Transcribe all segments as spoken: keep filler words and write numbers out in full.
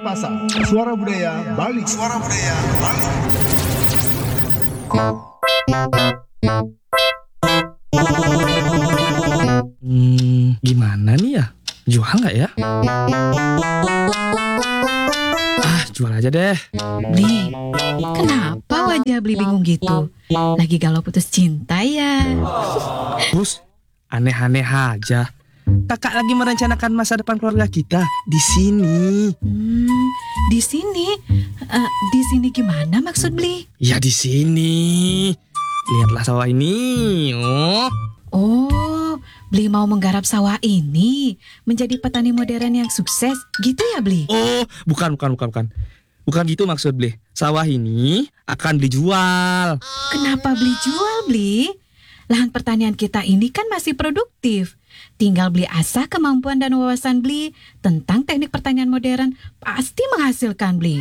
Pasar, Suara Budaya Bali. Suara Budaya Bali. Hmm, gimana nih ya? Jual nggak ya? Ah, jual aja deh. Bli, kenapa wajah Bli bingung gitu? Lagi galau putus cinta ya? Terus, aneh-aneh aja. Kakak lagi merencanakan masa depan keluarga kita di sini. Hmm, di sini? Eh, di sini gimana maksud Bli? Ya di sini. Lihatlah sawah ini. Oh. Oh, Bli mau menggarap sawah ini menjadi petani modern yang sukses, gitu ya Bli? Oh, bukan, bukan, bukan, bukan. Bukan gitu maksud Bli. Sawah ini akan dijual. Kenapa Bli jual, Bli? Lahan pertanian kita ini kan masih produktif. Tinggal Bli asah kemampuan dan wawasan Bli tentang teknik pertanian modern, pasti menghasilkan Bli.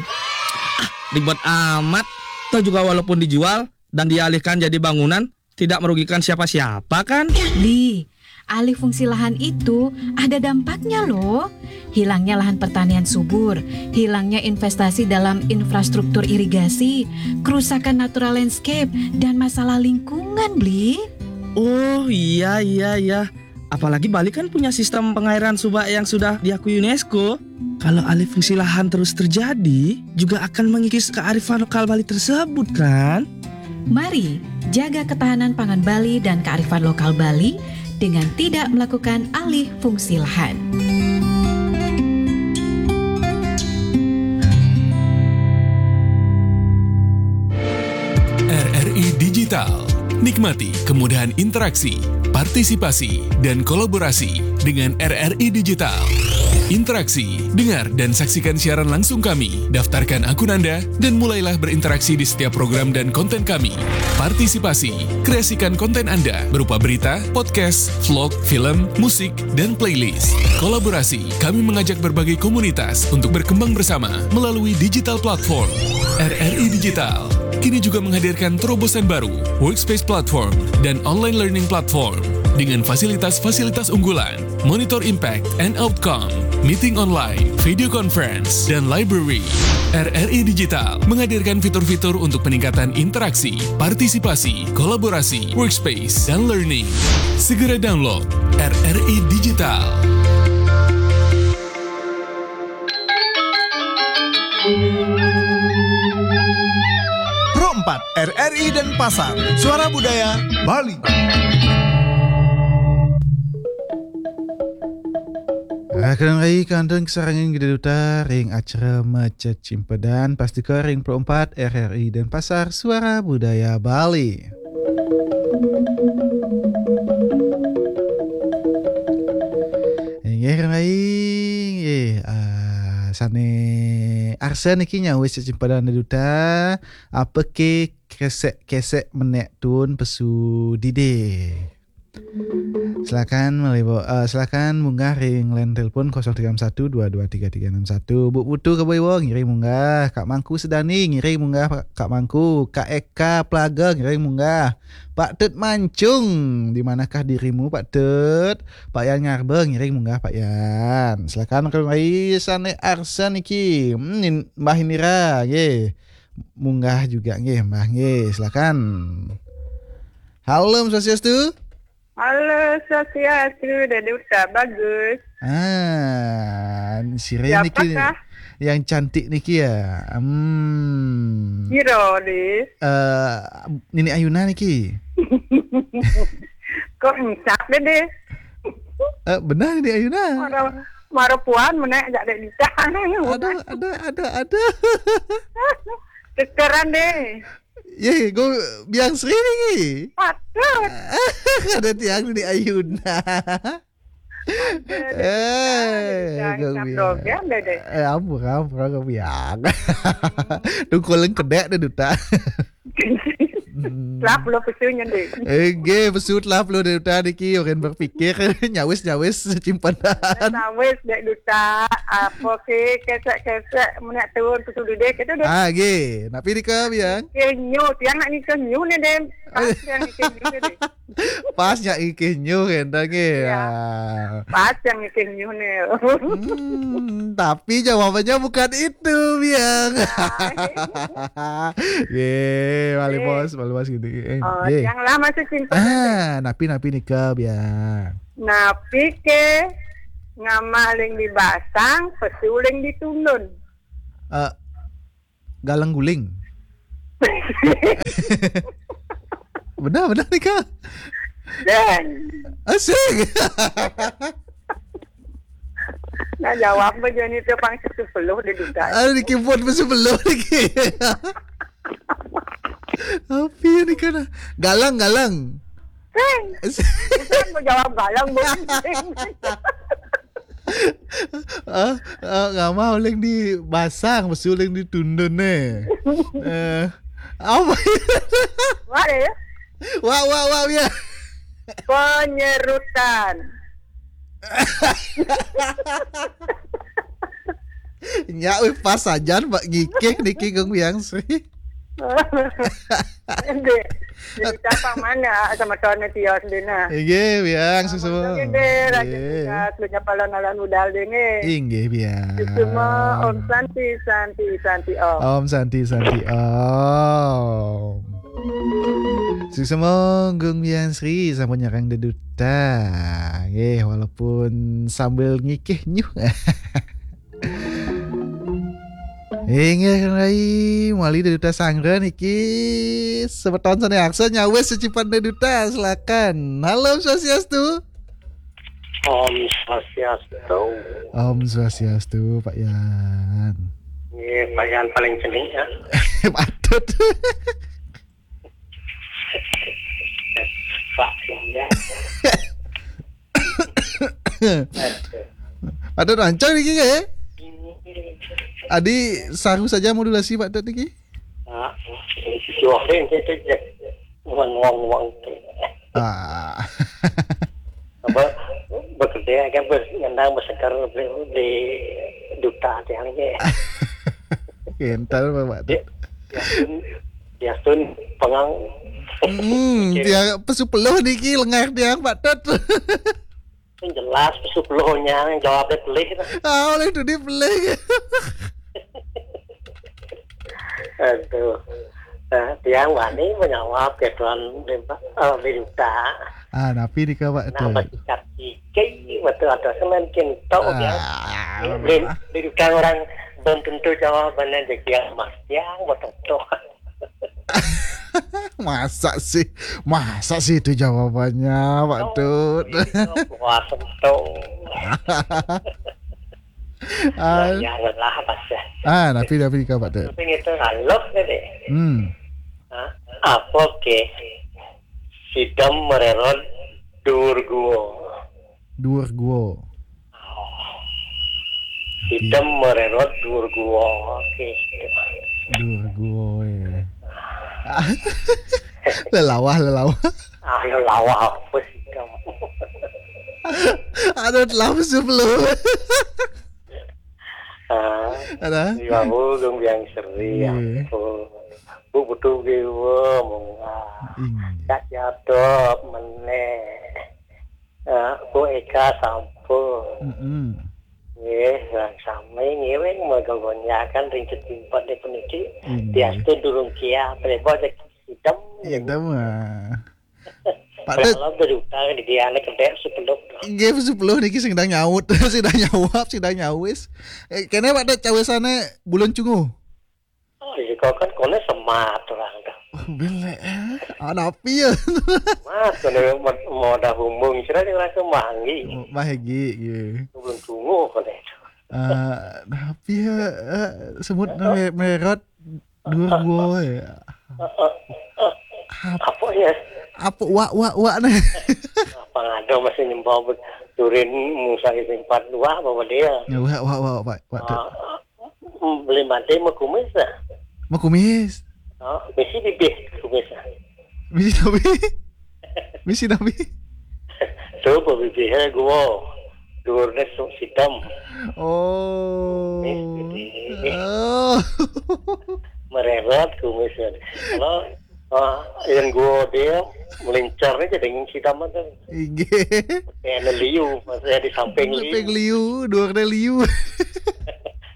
Ribet amat. Toh juga walaupun dijual dan dialihkan jadi bangunan, tidak merugikan siapa-siapa kan? Bli, alih fungsi lahan itu ada dampaknya loh. Hilangnya lahan pertanian subur, hilangnya investasi dalam infrastruktur irigasi, kerusakan natural landscape, dan masalah lingkungan, Bli. Oh iya, iya, iya. Apalagi Bali kan punya sistem pengairan subak yang sudah diakui UNESCO. Kalau alih fungsi lahan terus terjadi, juga akan mengikis kearifan lokal Bali tersebut kan? Mari jaga ketahanan pangan Bali dan kearifan lokal Bali dengan tidak melakukan alih fungsi lahan. R R I Digital. Nikmati kemudahan interaksi, partisipasi, dan kolaborasi dengan R R I Digital. Interaksi, dengar, dan saksikan siaran langsung kami. Daftarkan akun Anda dan mulailah berinteraksi di setiap program dan konten kami. Partisipasi, kreasikan konten Anda berupa berita, podcast, vlog, film, musik, dan playlist. Kolaborasi, kami mengajak berbagai komunitas untuk berkembang bersama melalui digital platform. R R I Digital kini juga menghadirkan terobosan baru, Workspace Platform dan Online Learning Platform, dengan fasilitas-fasilitas unggulan, monitor impact and outcome, meeting online, video conference, dan library. R R I Digital menghadirkan fitur-fitur untuk peningkatan interaksi, partisipasi, kolaborasi, workspace, dan learning. Segera download R R I Digital. Pro empat, R R I Denpasar, Suara Budaya Bali. Rakan rai kantun kesarangan gede duta ring acara Maca Cimpadan, pastika ring Pro empat R R I Denpasar, Suara Budaya Bali. Inggih rai, inggih, ah, sane arsa niki nyawis Cimpadan duta, apa ke kresek-kesek menek tun pesu dide. Silakan melibo, uh, silakan munggah ring line telepon kosong tiga enam satu dua dua tiga tiga enam satu. Bu Putu Kebaiwa ngiring munggah, Kak Mangku Sedani ngiring munggah, Kak Mangku, Kak Eka Pelaga ngiring munggah. Pak Tut Mancung, di manakah dirimu Pak Tut? Pak Yan Ngarba ngiring munggah Pak Yan. Silakan kembali sane arsa niki. Hmm, Mbah Indira nggih. Munggah juga nggih, Mbah nggih. Silakan. Halo, Om Swastiastu. Halo, Swastiastu, Dede Uta, bagus. Ah, sire niki yang cantik niki ya. Hmm. Kira deh. Uh, Nini Ayuna niki. Kok encak deh deh. Uh, benar Nini Ayuna. Mara, mara puan menek jak dek ditang. Ada, ada, ada, ada. Kekeran deh. Ye, go biang seri ni. Patut. Ada tiang ni Ayuna. Eh, eh, ampun, ampun, kau biang. Tungkol lengkedek dah duta. Lah puluh pesunya deh. Ege, pesut lah puluh deh duta niki orang berpikir nyawis nyawis simpanan. Nyawis dek duta. Apa ke kesek-kesek menak turun ke sulu deh kita deh. Ah, ge. Napi dika biang? Ke nyu, tiang nak ni ke nyu ni deh. Pas yang ngikih nyuh nih. Pas yang ngikih nyuh, éndah nggih. Iya. Ya. Pas yang ngikih nyuh nih. Hmm, tapi jawabannya bukan itu, Biang. Nah. Ye, malih, Ye. Bos, malih, Bos, gitu. Eh, Oh, ye. Yang lah masih simpen. Ah, napi, napi nika, Biang. Napi ké ngamah uling di basang, pesu uling di tundun. Eh, galang guling. Benar, benar nika. Dan. Asik. Nah, jawab aja nih tuh pang sepuluh di duta. Aduh, di keyboard pun sepuluh lagi. Apa ya nika nah? Galang, galang. Sing. Asik. Bukan mau jawab galang, bukan. Ah, ah, ngamah uling di basang, pesu uling di tundun nih. Eh, apa? Wah deh. Wah, wah, wah, ya. Penyerutan. Nya, wih, pas sajan, Pak, ngikih niki Gung Biang Sri. Deh. Jadi siapa mana sama tuan tios dina. Nggih, Biang, suksma. Nggih, Raja Nggih. Suka, lu nyapa lan alan udal dene. Inggih, Biang. Suksma, Om Santi, Santi, Santi, Om. Om Santi, Santi, Om. Suksma Gung Biang Sri sampun nyarang deduta. Nggih, walaupun sambil ngikih nyuh. Inggih, Kang Rai, malih deduta sanggra niki. Semeton sané aksa nyawis secipan deduta, silakan. Halo, Om Swastiastu. Om Swastiastu. Om Swastiastu, Pak Yan. Nggih, Pak Yan paling cenik ya. Patut. Pak Yan. Ada rancang niki nggih? Adi saru saja modulasi Pak Dut niki? Ah, suara itu je. Wang, wang, wang. Ah. Apa, bekerja kan bes-, ngendang berseker di, di duta tiang je. Kental Pak Dut. Ya, ya, sun, ya, sun, pengang. Hmm, Oke. Dia pesu peluh niki lengah dia Pak Dut. Yang jelas pesu peluhnya, yang jawabnya pelih. Ah, oleh tu dia pelih. Aduh. Nah, tiang wani menjawab ke tuan Bimpa-, eh, Biruta. Ah, napi nika Pak Nah, Dut? Bersikat gigi, betul atau semen kinto, ya. Ah, Bim-, Biruta orang belum tentu jawabannya jadi yang mas, yang betul. Masa sih, masa sih itu jawabannya, Pak Oh, Dut? Iya, wah, sentuh. Ah. Nah, ya, lelah, Mas, ya. Ah, napi, napi nika, Pak Dut? Tapi itu halus tadi. Hmm. Hah? Apa ke? Sidem mererot dur gua. Dur gua. Sidem mererot dur gua. Oke. Dur gua, ya. Lelawah, lelawah. Ah, lelawah apa sidem? Ada telah sebelum. Ah, Ada? Iya, Bu, Gung Biang Seri, Iya. Ampun. Bu, betul, Bu, mungah. Iya. Cak Jadop, meneh. Eh, Bu Eka sampun. Mm-mm. Nggih, lan sami ngiring merga gonjakan ring cetimpat di puniki. Inggih. Diastu durung kiah, preba cek sidem. Sidem, ah. Pak Dut. Kalau berduta di dia anak kedek sepuluh. Nggih, sepuluh niki sing dang nyaut, sing dang nyawab, sing dang nyawis. Eh, kene Pak Dut cawisane bulun cunguh. Oh, iya, kok kan kone semat orang dah. Oh, belek, eh. Anapi ya? Mas, kone mau, mau dah bumbung, kira dia rasa manggi. Oh, bahagi, iya. Belum tunggu kone itu. Eh, napi ya, eh, semut Oh. me-, merot dua gua ya. Eh, eh, eh. Apa? Apa ya? Apa wak, wak, wak nih? Apa ada masih nyembah bet-, turin Musa itu empat dua apa dia? Ya, wak, wak, wak, wak, wak. Ah, Hmm, beli mati mau kumis lah. Mau kumis? Oh, misi bibih kumis lah. Misi tapi? Misi tapi? Tuh, mau bibihnya gua. Durnya su-, hitam. Oh. Mis, jadi. Oh. Mererot kumisnya. Kalau Ah, yang gua dia melincar aja dengan si tamat kan. Inggih. Kayak ada liu, maksudnya di samping liu. Samping liu, dua kena liu.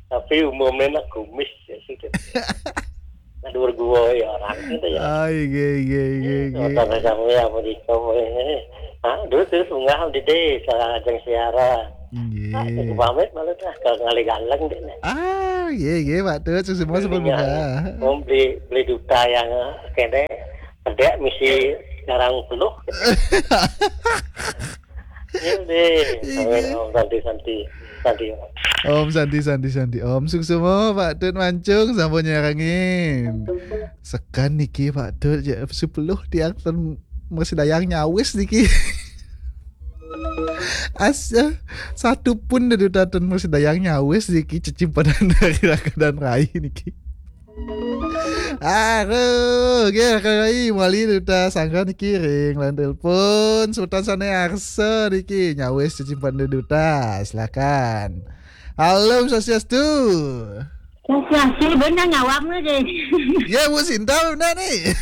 Tapi umumnya nak kumis ya sih. Nah, dua gua ya orang gitu ya. Ah, inggih, inggih, inggih, inggih. Kata kami apa di kamu ini? Ah, dulu terus unggal di desa ajang siaran. Nggih. Ah, aku pamit malu dah ke Ngali Galeng deh nih. Ah, nggih, nggih, Pak Tut, sukses semua sebelum bunga. Om beli beli duta yang kene kedek misi sekarang penuh. Ini deh, Om Santi Santi Santi. Om Santi Santi Santi Om, sukses semua Pak Tut Mancung sampun nyarangin. Sekan niki Pak Tut ya sepuluh tiang ten Mersidayang nyawis niki. Asa satu pun dari duta ten Mersidayang nyawis niki cecimpanan dari Raka dan Rai niki. Aduh, oke Raka Rai mali duta sangga niki ring lan telepon Sultan Sane Arsa niki nyawis cecimpanan dari duta. Silakan. Halo, Om Swastiastu. Swastiastu, benar nyawam ni deh. Ya, Bu Sinta benar ni.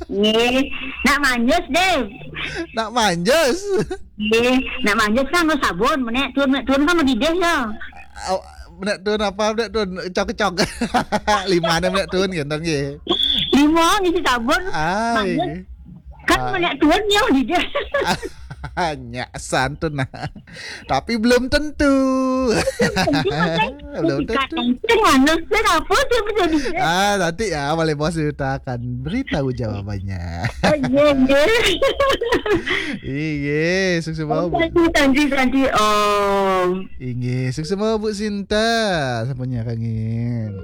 Nggih, nak manjus deh. Nak manjus? Nggih, nak manjus kan nggo sabun, menek turun, menek turun kan mendidih ya. Au, menek turun apa, menek turun cok-cok. Lima ni menek turun gitu nggih. Lima ngisi sabun. Ah, manjus. Nggih. Kan ah. Menek turun ya mendidih. Nyak santun nah. Tapi belum tentu. Belum tentu. Kan anu, kan apa tu bisa bisa. Ah, nanti ya, Malih Bos Duta akan beritahu jawabannya. Oh, iya, iya. Iya, sukses mau Bu. Santi, santi, santi, Om. Iya, sukses mau Bu Sinta. Sampun nyarangin.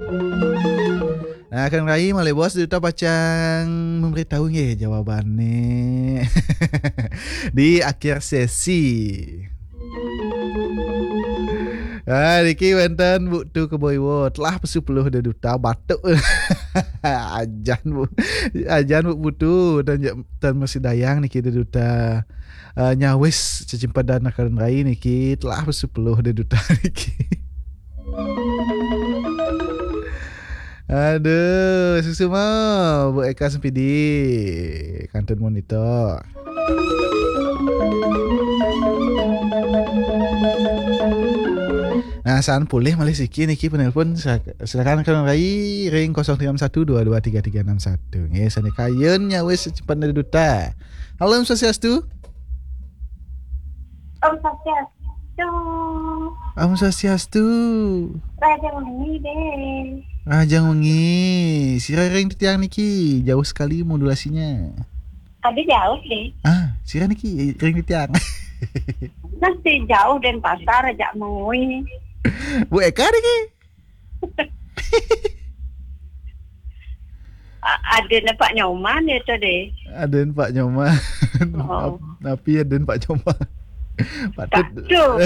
Nah, Kang Rai, Malih Bos Duta pacang memberitahu nggih jawabannya di akhir sesi. Ah, niki wenten Bu Tu Keboiwo telah pesu peluh de duta batuk. Ajan Bu, ajan Bu Putu dan ja- dan Mersidayang niki de duta. Eh, nyawis cecimpadan Kang Rai niki telah pesu peluh de duta niki. Aduh, suksma Bu Eka Sempidi. Kantun monitor. Nah, saan pulih malih siki niki penelpon. Sa- silakan Kang Rai ring kosong tiga enam satu dua dua tiga tiga enam satu. Nggih, sane kayun nyawis cecimpadan duta. Halo, Om Swastiastu. Om Swastiastu. Om Swastiastu. Raja Wengi deh. Raja Wengi. Sira ring titiang niki jauh sekali modulasinya. Ada jauh deh. Ah, sira niki ring titiang. Masih jauh Denpasar aja mengui. Bu Eka niki. A- Ada nampak nyoman ya tadi. Aden Pak Nyoman. Oh. Nap- Napi aden Pak Nyoman. Patut. Patut.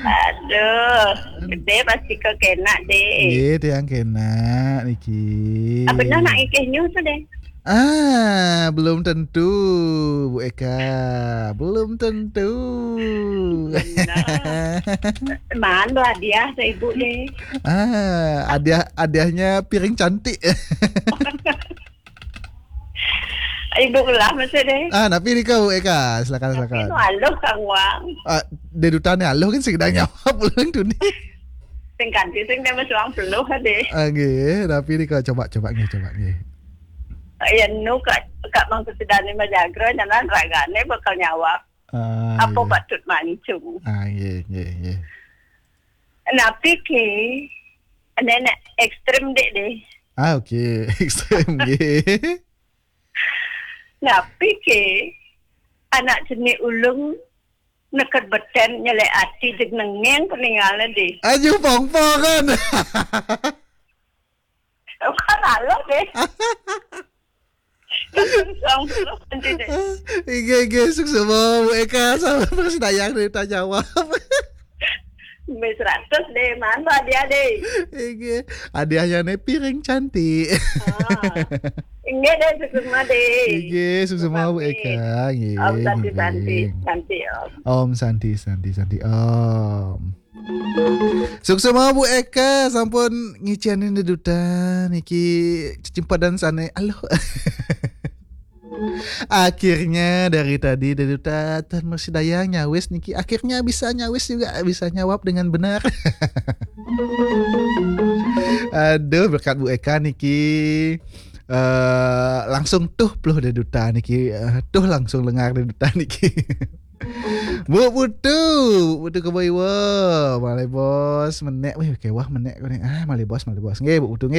Aduh, gede pasti kau kena deh. Nggih, tiang kena niki. Apa dah nak ikih nyu tu deh? Ah, belum tentu, Bu Eka. Belum tentu. Benar. Malu hadiah saya ibu deh. Ah, hadiah hadiahnya piring cantik. Ibu lah mesti deh. Ah, tapi ni kau Eka, silakan silakan. Itu aluh kang wang. Ah, dia duta ni aluh kan sekedar nyawab ulang tu ni. Sing ganti sing dia mesti wang peluh deh. Ah, nggih, tapi ni kau coba coba nggih, coba nggih. Ya nu kak kak mang kesedane majagra nyanan ragane bakal nyawab. Ah, apa nggih. Patut mancung. Ah, nggih, nggih, nggih. Napi ke nenek ekstrem dek deh. Ah, okey. Ekstrem nggih. Napi ke anak jenik ulung neked beten nyelek ati jeg nengeng peninggalan deh. Aju pongpong kan. Bukan lalu deh. Langsung nanti deh. Inggih, inggih, suksma Bu Eka sama Mas Dayang dari Tanjawab. Mes ratus deh, mana dia deh? Inggih, hadiahnya nih piring cantik. Ah. Inggih deh, suksma deh. Inggih, suksma Bu Eka. Inggih, Om Santi, Santi, inggih. Santi, Om. Om Santi, Santi, Santi, Om. Suksma Bu Eka sampun ngicenin Dé Duta niki cecimpadan sané. Aluh. Akhirnya dari tadi Dé Duta tan masi daya nyawis niki. Akhirnya bisa nyawis juga, bisa nyawab dengan benar. Aduh, berkat Bu Eka niki. Eh, langsung tuh pluh Dé Duta niki. Eh, tuh langsung lengar Dé Duta niki. Bu Putu, Bu Putu Kebo Iwa. Malih bos menék, wih, kéweh menék kuwi. Ah, malih bos, malih bos. Nggih, Bu Putu nggih.